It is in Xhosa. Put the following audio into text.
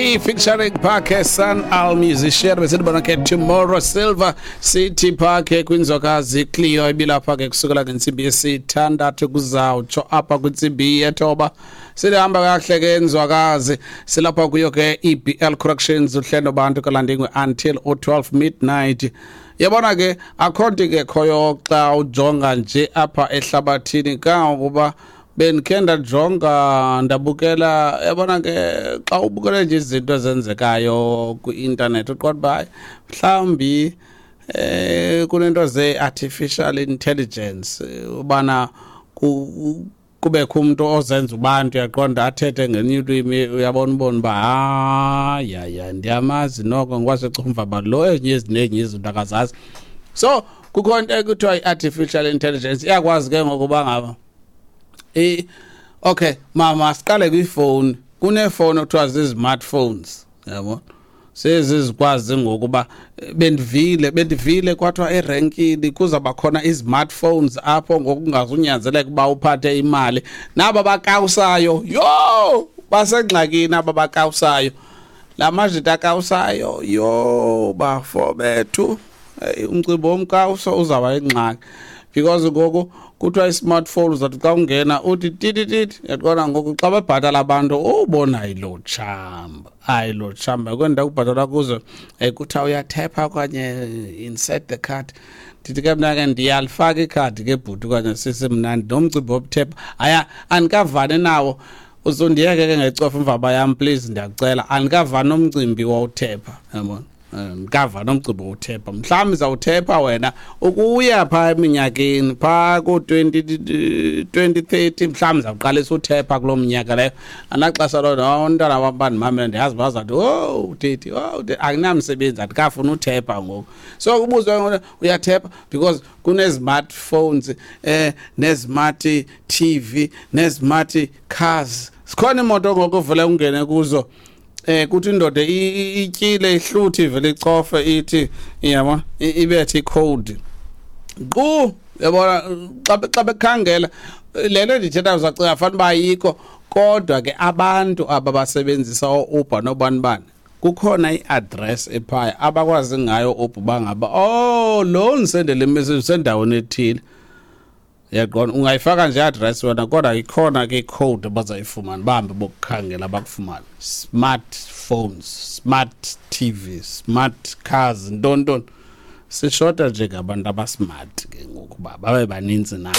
Featuring Parker San Al musician besithi bona ke Tomorrow Silver City Park kwinzokazi Cleo ibilapha ke kusukela ngentsimbi yesithandathu kuzawutsho apha kwintsimbi yethoba. Silihamba kakuhle ke nzwakazi, silapha kuyo ke EBL Corrections uhlelo bantu kalandingwe until u12 midnight. Yabona ke akho nto ingekhoyo xa ujonga nje apha ehlabathini, kangangokuba bendikhe ndajonga ndabukela. Yabona ke xa ubukele nje izinto ezenzekayo kwi-intanethi, uqonda uba hayi, mhlawumbi kunento ze-artificial intelligence, ubana kubekho umntu ozenza ubantu, uyaqonda, athethe ngenye ulwimi, uyabona, ubona uba hayi hayi, ndiyamazi noko ngwasecumva ba lo ezinye ezinenye izinto akazazi. So kukho into ekuthiwa i-artificial intelligence, iyakwazi ke ngokuba ngaba okay mama, siqale kwifowuni. Kuneefowuni ekuthiwa zii-smartphones, yabo, sezizikwazi ngokuba bendivile kwathiwa erenkini kuzawuba khona i-smartphones apho ngokungazunyanzeleka uba uphathe imali. Naba bakawusayo, yho, basengxakini aba bakawusayo, la majita akawusayo, yho, bafo bethu. Umcimbi womkawuso uzawuba yingxaki because ngoku kuthiwa i-smartphone uzathi xa ungena uthi titititi, yaqona. Ngoku xa bebhatala abantu ubona ayilo tshamba, ayilo tshamba kwenda kubhatalwa kuzo, kuthiwa uyathepha okanye insert the card. Ndithi ke mna ke ndiyalifaka ikhadi ke bhuti okanye sisi, mna nomcimbi wobuthepha aya andikavani nawo. Uzondiyeke ke ngecofa imvaba yam, please, ndiyakucela. Andikavani nomcimbi wowuthepha, yabona. Ndikava nomcimbi wowuthepha. Mhlawumbi zawuthepha wena ukuya phaa eminyakeni phaa koo-20 2030, mhlawumbi zawuqalisa uthepha kuloo minyaka leyo. Anaxesha loo umntwana wam bandimamele, ndiyazi bazawuthi, "Oh titi, oh titi, akunamsebenzi, andikafuni uthepha ngoku." So kubuzwe ngoku, uyathepha because kune-smartphones, ne-smart TV, ne-smart cars. Sikhona imoto ngoku uvele ungene kuzo, kuthi indoda ityile, ihluthi, ivele icofe ithi, yabo, ibethe icode qu, yabona. Xa bekhangela le nto ndithetha, uzacinga fanele uba ayikho, kodwa ke abantu aba basebenzisa oo-Uber nobani bani, kukhona i-address ephaya abakwazi ngayo Uber bangaba, oh, lo ndisendele imessage usendaweni ethile, yaqona. Ungayifaka nje i-address wena, kodwa ikhona ke icode abazayifumana, bahambe bokukhangela bakufumane. Smartphones, smart TV, smart cars, ntontoni. Sishota nje ngabantu abasmart ke ngoku uba babe baninzi nabo.